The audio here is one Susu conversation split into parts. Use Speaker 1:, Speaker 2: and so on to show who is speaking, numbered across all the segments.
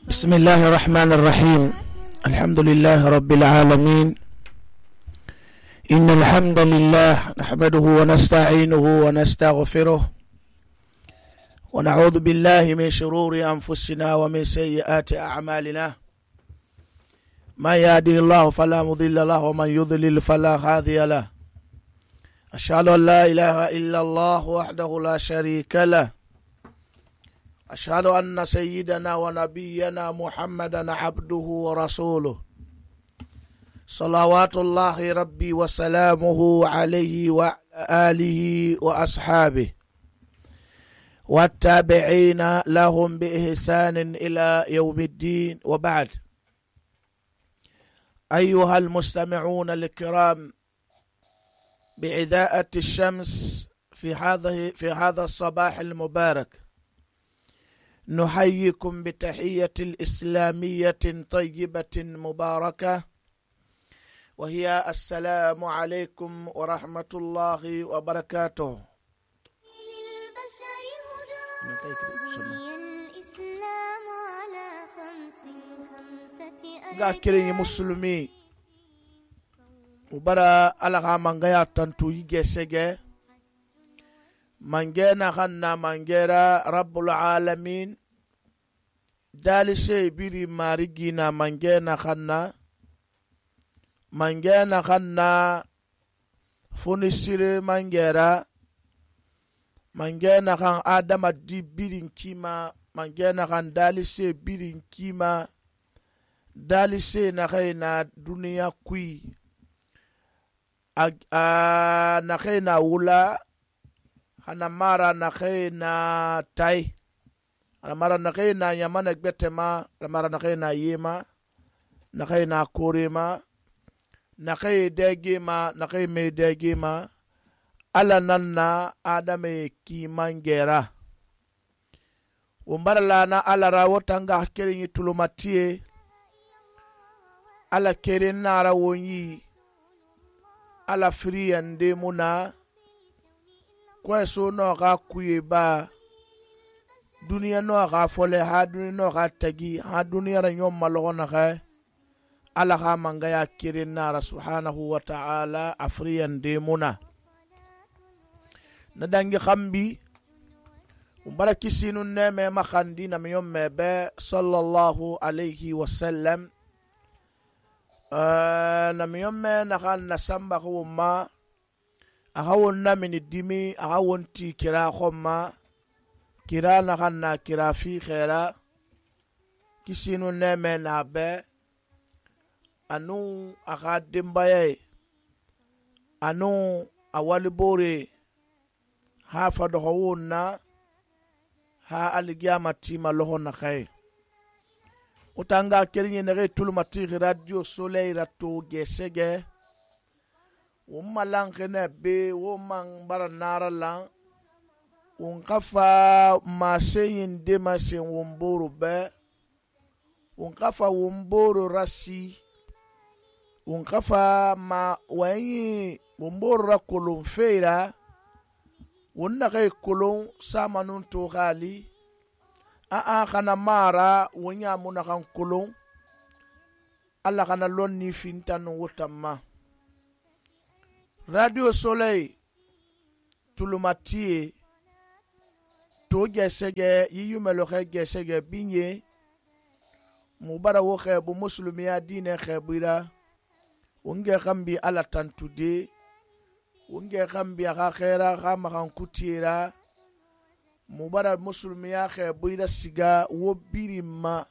Speaker 1: بسم الله الرحمن الرحيم. الحمد لله رب العالمين. إن الحمد لله نحمده ونستعينه ونستغفره ونعوذ بالله من شرور أنفسنا ومن سيئات أعمالنا. من يهده الله فلا مضل له ومن يضلل فلا هادي له. أشهد أن لا إله إلا الله وحده لا شريك له. أشهد أن سيدنا ونبينا محمدا عبده ورسوله صلوات الله ربي وسلامه عليه وعلى آله وأصحابه والتابعين لهم بإحسان إلى يوم الدين. وبعد، أيها المستمعون الكرام بإذاعة الشمس في هذا الصباح المبارك، نحييكم بتحية الإسلامية طيبة مباركة، وهي السلام عليكم ورحمة الله وبركاته. Gakiri muslimi ubara alaga mangaya tantu yigesege mangena khanna mangera rabbul alamin dalise biri marigina mangena khanna funisire mangera khan adama di birin kima mangena khan dalise birin kima dalise na khaina duniya kui na khaina wula hana mara na khaina tai hana mara na khaina yamana gbetema hana mara na khaina yema na khaina korema na khay degema na khay me degema ala nanna adame ki mangera umbara lana ala rawotanga kerin tulumatie ala kerin nara wonyi ala friyande muna kweso no ga kuye ba duniya no ga fole ha duniya no ga tagi ha duniya ra nyom malona ga ala ga manga ya kirin nara subhanahu wa ta'ala afriyan de muna na dangi khambi umbaraki sinun ne me makhandi na miyom mebe sallallahu alayhi wa sallam na miyom me na kan nasamba ko ma ahawon na mini dimi ahawon ti kira khomma kira na khanna kira fi khaira kisinu neme na be anu akhadim baye anu awali bore ha fadhawunna ha algiyamati malohon na khay utanga kelinye nere tulmati radio soleil rato gesege umalang kene be womang baranara lang unkafa maseyin de masen womboro be unkafa womboro rasi unkafa ma wayi womboro ra kolon feira wonna kay kolon samanun to gali a kana mara wonya muna kan kolon alla kana lonni fintan wotamma radio soleil tulumatie to gesege yiyumelo khe gesege binye mubara wo khe bu muslimiya dine khabira unge khambi ala tantude unge khambi aga khaira khama kan kutira mubara muslimiya khabira siga wo birima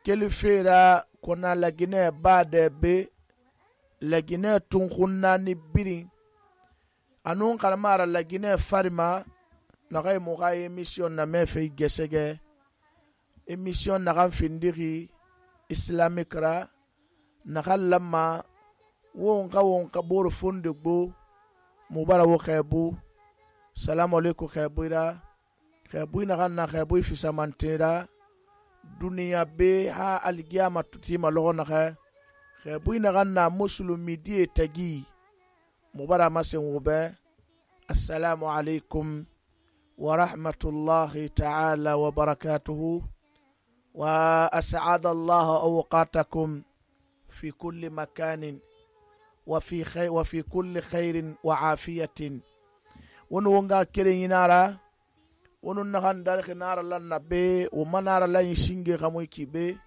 Speaker 1: kelifera kona lagine bade be lagine tunkunna ni birin anun kalmara lagine farima nakay muga emission na mefe gesege emission na kan findiri islamic ra nakallama wonka bor funde gbo mubara wo khabu salamu alaykum khabira na kan na khabu fi samantera duniya be ha algiyama tutima lona kha khabuina ganna muslimi die tagi mubara masen wobe. Assalamu alaikum ورحمة الله تعالى وبركاته وأسعد الله أوقاتكم في كل مكان وفي كل خير وعافية. ونونغا كيري نارا ونونغان دارخ نارا لنا بي وما نارا لن يسنجي غمويكي بي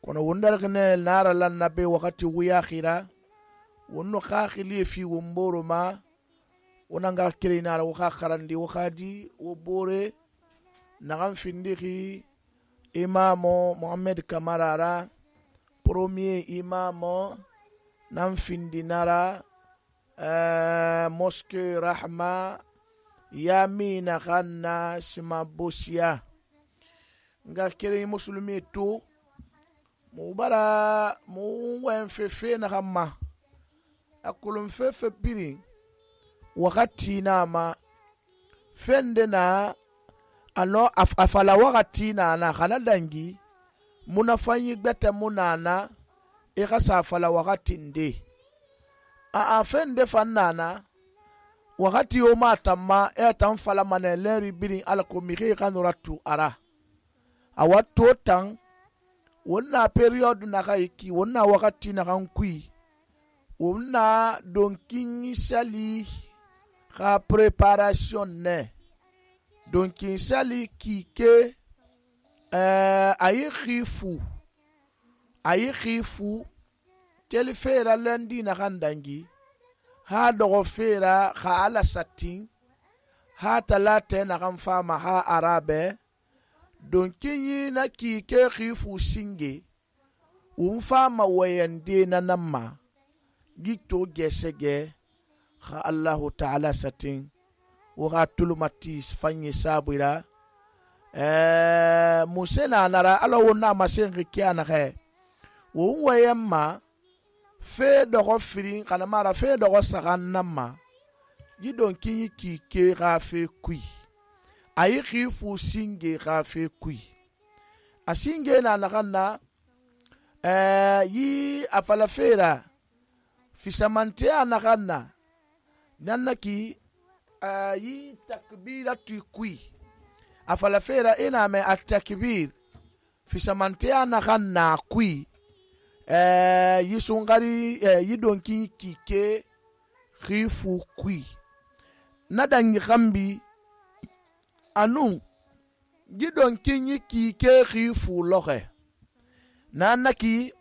Speaker 1: كنا وندرخ نارا لنا بي وقت وياخرا ونو خاخلي في ومبورو ما ونونغا كيري نارا وخا خراندي وخادي وبوري نغم فندخي إمامو محمد كمارارا premier imamo nan findi nara mosque rahma yamina khanna sima bosia nga kere muslimi tu mubara mu wen fefe na khamma akulum fefe biri wakati nama fende na ano afala wakati na khana dangi muna fanyi gbete munana ikasa fala wakati nde fende fannana wakati yo matama etan fala mane leri birin alako miki kanuratu ara awato tan wonna period na kaiki wonna wakati na kankui wonna donkin sali ka preparation ne donkin sali kike ayi khifu kel fera landi na kandangi ha dogo fera kha ala satin ha talate na kan fama ha arabe don kinyi na kike khifu singe un fama wayande na namma gito gesege kha Allahu ta'ala satin wa hatulumatis fanyi sabira musena nara ala wona masen rikiana khe won wayemma fe dogo firin kana mara fe dogo sagan namma gidon kinyi kike ga fe kui ayi khifu singe ga fe kui asinge na nakanna yi afala fera fisamante anakanna nannaki yi takbiratu kui afala fera ina me at-takbir fi samantia na khanna kui yisungari yidonki kike khifu kui nadangi khambi anu gidonki kike khifu lohe nanaki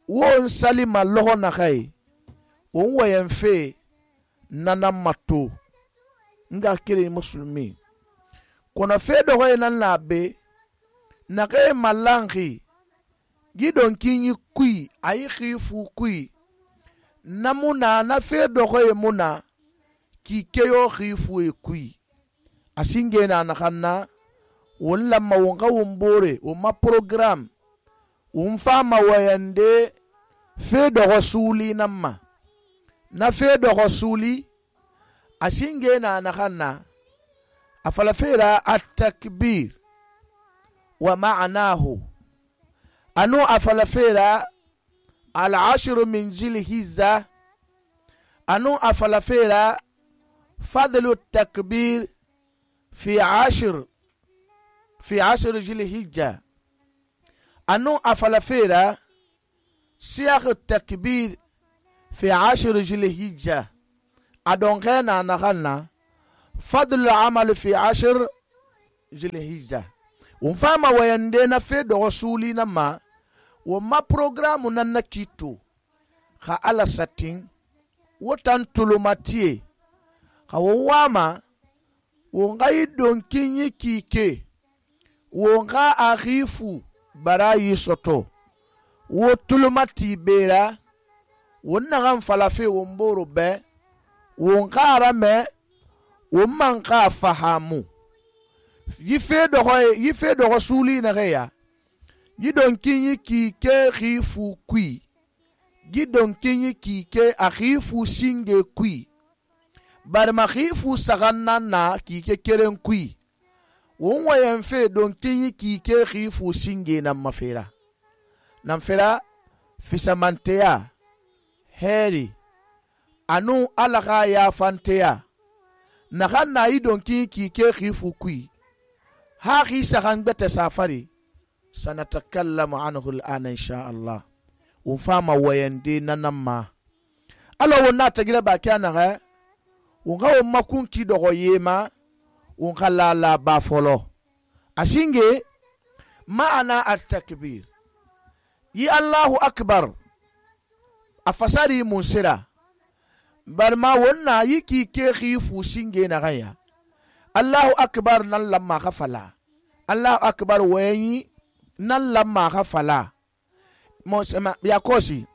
Speaker 1: won salima loho na khay won wayen fe nanamato nga kire muslimi kona fedo hoye nan labe na kay malangi gidon kinyi kui ayi khifu kui namuna na fedo hoye muna ki keyo khifu e kui asinge na nakhanna wala mawonga wombore o ma program umfama wayande fedo rasuli namma na fedo rasuli asinge na nakhanna أفلفيرا التكبير ومعناه أنو أفلفيرا العشر من ذي الحجة أنو أفلفيرا فضل التكبير في عشر ذي الحجة أنو أفلفيرا سياق التكبير في 10 ذي الحجة أدونغينا نغنى فضل العمل في 10 ذي الحجة ومفاما ويندينا في رسولي نما وما بروغرام نانا كيتو خا على ساتين وطن تلوماتيه خا وواما ونغاي دونكيني كيكي ونغا أخيفو براي سوتو وتلوماتي بيرا ونغام فلافي ومبورو بي ونغا رمي ومنغا فهامو yife do rasuli na reya gidon kinyi kike khifu kui gidon kinyi kike akhifu singe kui bar ma khifu saganna na kike keren kui won wayen fe don kinyi kike khifu singe na mafera nan fera fisamanteya heri anu alaka ya fanteya na ganna idon kinyi kike khifu kui ha khisa kan bete safari sanatakallamu anhu al'ana insha Allah. Won fama wayande nanamma. Alors won na tagira ba kyanaga won ga won makun ki dogo yema won kala ba folo. Asinge ma'ana at-takbir. Yi Allahu akbar afasari munsira. Barma wonna yiki ke khifu singe na gaya. Allahu akbar nan lamma khafala. Allahu akbar wayi nan lamma khafala. Mosema ya kosi.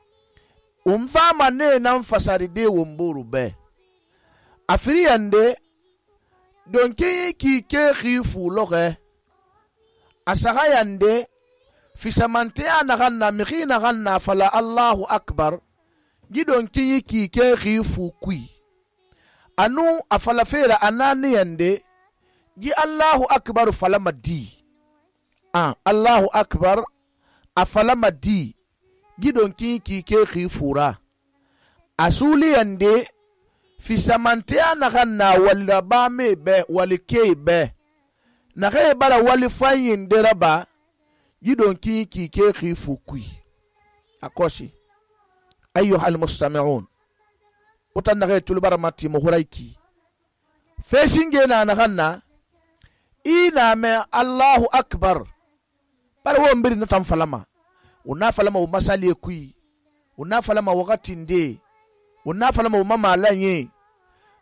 Speaker 1: Umfama ne nan fasari de womburu be. Afriyande donke ki ke khifu loge. Asagayande fisamante anaganna mikhina ganna fala Allahu akbar. Gidon ki ke khifu kui. Anu afala fera anani yande gi Allahu akbar falama di. Allahu akbar afalama di. Gidon ki ke khifura. Asuli yande fisamante anaganna wala ba me be wali ke be. Nake bara wali fanyin deraba gidon ki ke khifu kui. Akosi. أيها المستمعون وتنغي تلبرمتي مهريكي فيسنجينا نغنى إنا من الله أكبر بل مبري نتم فلما ونا فلما ومسالي كوي ونا فلما وغتين دي ونا فلما وماما لاني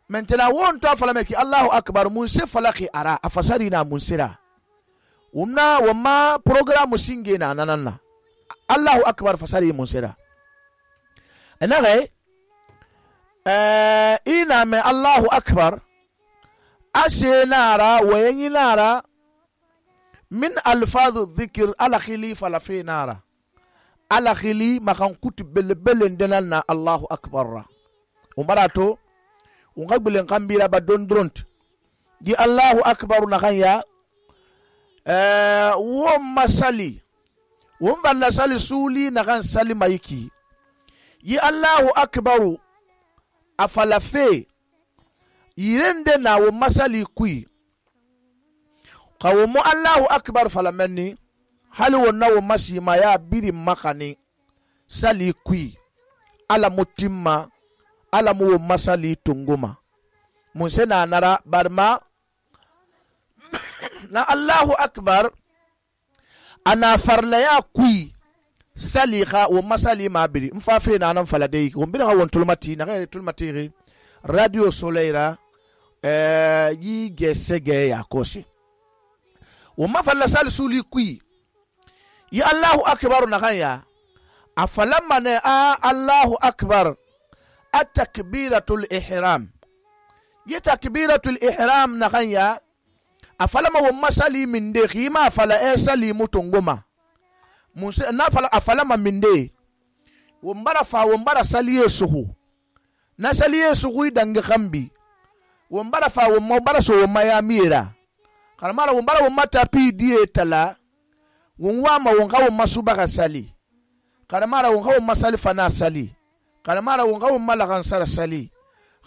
Speaker 1: من تناوون تو فلما كي الله أكبر منسي فلقي أرى أفسرنا منسرا وما بروغرام سنجينا نانا الله أكبر فسري منسرا نغي إنا من الله أكبر أشي نارا ويني نارا من ألفاظ الذكر على خلي فلفي نارا على خلي ما كان كتب بل دلنا الله أكبر ومراتو ونقبل نقبل بدون درونت دي الله أكبر نغيا وما سالي وما سالي سولي نغان سالي مايكي Yi Allahu akbaru afalafe yirende na wo masali kui kawo Allahu akbar falamenni hali wonna wo masima ya biri makani sali kui ala mutimma ala mu wo masali tunguma munse na nara barma na Allahu akbar ana farla ya kui saliha wa masali mabiri mfafe na nan faladei wombira won tulmati na gere tulmati radio soleira yi gesege ya kosi wa mafalla sal suli kui ya Allahu akbar na kanya afalamma ne Allahu akbar at-takbiratul ihram ya takbiratul ihram na kanya afalama wa masali min de khima fala sali mutunguma Munse na fala afalama minde wombara saliye suhu na saliye suhu dange khambi wombara so womaya mira kalmara wombara womata pi die tala wonwama wonga womasuba sali kalmara wonga womasali fana sali kalmara wonga womalagan sara sali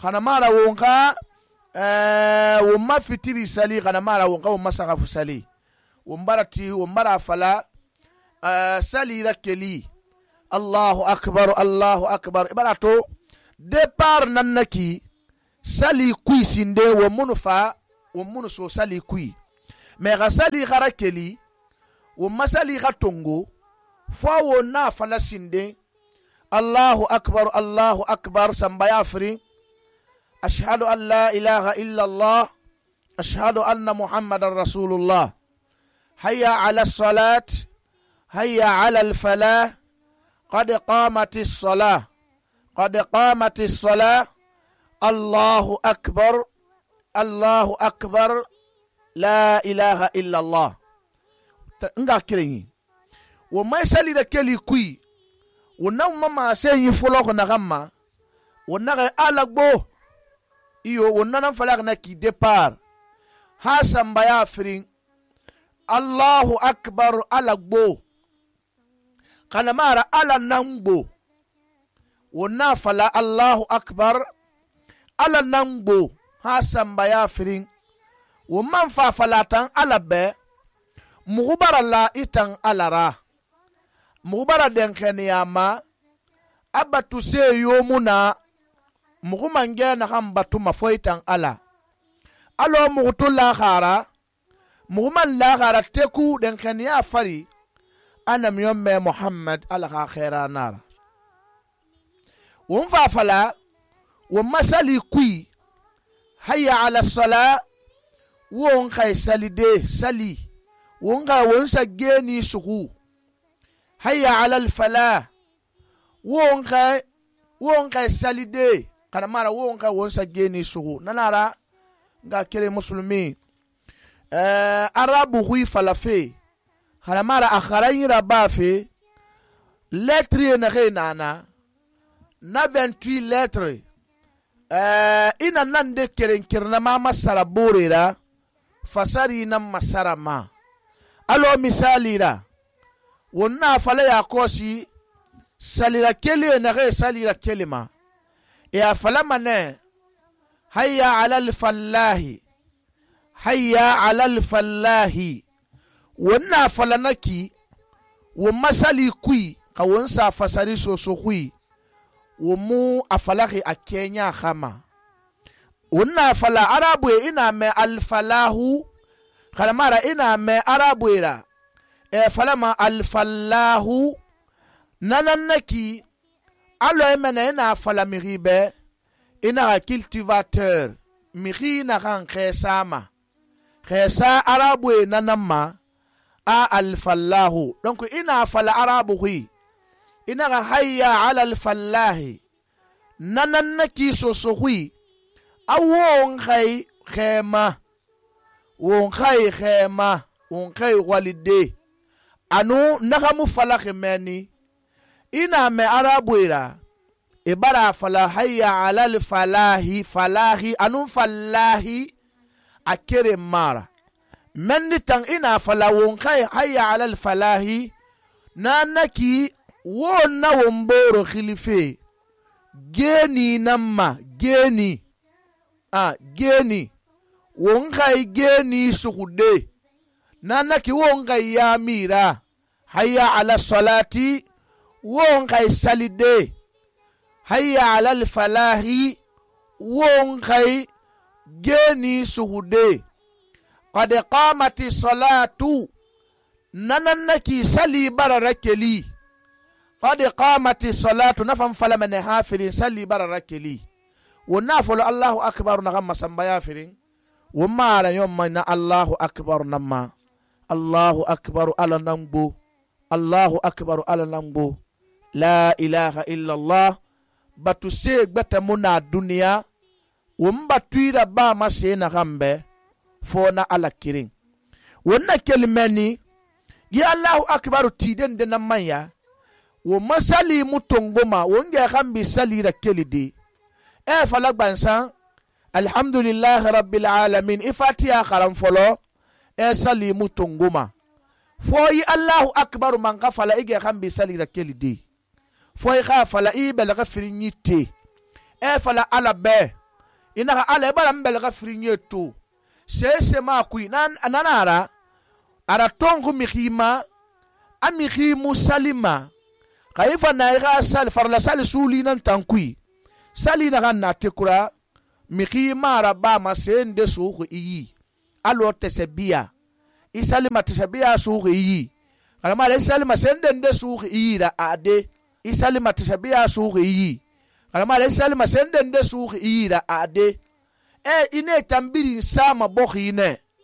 Speaker 1: kalmara wonga womafitiri sali kalmara wonga womasagafu sali wombara fala sali rakeli Allahu akbar ibarato départ nannaki sali kui sinde wo munu so sali kui mais ga sali rakeli wo masali tongo fo wo na fala sinde Allahu akbar sambaya fri ashhadu an la ilaha illa Allah ashhadu anna muhammadar rasulullah hayya ala salat هيا على الفلاح قد قامت الصلاة الله أكبر لا إله إلا الله nga kirenyi wo mai sali da keli kui wonnan mama sai yi fulo na gamma wonnan alagbo iyo wonnan falak na ki départ hasan baya firin Allahu akbar alagbo kana mara ala nangbo wonna fala Allahu akbar ala nangbo hasan baya firin wo man fa falatan ala be muxu bara la itan Ala ra muxu bara denxeniyama a batu se yomu na muxu mange naxan batuma fo itan Ala alo muxu to laxara muxu man laxara teku denxeniya fari a namiyon me Muhammad Ala xa xera nara won fa fala won masali kui hayya ala sala won xay salide sali won xa won sa geni suxu hayya ala alfala won xay salide kana mara won xay won sa geni suxu nanara nga kere muslimi arabu hui falafe kana mara akharayira bafe lettre na xe nana na 28 lettre ina nan de kerenkirna ma masara borera fasari nan masara ma alo misali ra wonna fala ya kosi salira kele na ge salira kelima ya fala mane hayya ala alfallahi hayya ala alfallahi wonna fala naki wo masali kui ka wonsa fasari so kui womu afalahi akenya khama wonna fala arabu ina me alfalahu khalamara ina me arabu ira falama alfalahu nanannaki alo emene ina fala miribe ina cultivateur miri na kan khesama khesa arabu nanamma a alfalahu donc ina fala arabu hui ina hayya ala alfallahi nanannaki sosohui awon khay khema won khay khema won khay walide anu nagamu falakh meni ina me arabuira ibara fala hayya ala alfalahi falahi anu fallahi akere mara menni tan ina fala won khay hayya ala alfalahi nanaki won na womboro khilife geni namma geni geni won kai geni suhude nanaki won kai yamira hayya ala salati won kai salide hayya ala al falahi won kai geni suhude qad qamati salatu nanannaki sali bararakeli qad qamati salatu nafam falamane hafirin sali bararakeli ونافل الله أكبر نغم سنبيا فرين وما لا يوم من الله أكبر نما الله أكبر على نمبو الله أكبر على نمبو لا إله إلا الله بتسيق بتمنا الدنيا ومبتوير با مسينا غمبه فونا على كرين ونا كلمني يا الله أكبر تيدن دنمايا ومسالي متونغوما ونجا غمبي سالي ركلي دي فلك بانسان الحمد لله رب العالمين إفاتيا خرم فلو سالي متونغوما فوي الله أكبر من غفل إيجا غمبي سالي ركلي دي فوي غفل إيبال غفرينيتي فلا على بي إنها على بلان بل غفرينيتو سيسما كوي نانارا ara tongu mikima amikimu salima kaifa naiga sal farla sal suli nan tankui sali na ganna tekura mikima raba masende suku iyi alo tesebia isalima tesebia suku iyi kalama le salima sende nde suku iyi da ade isalima tesebia suku iyi kalama le salima sende nde suku iyi da ade ine tambiri sama bokhine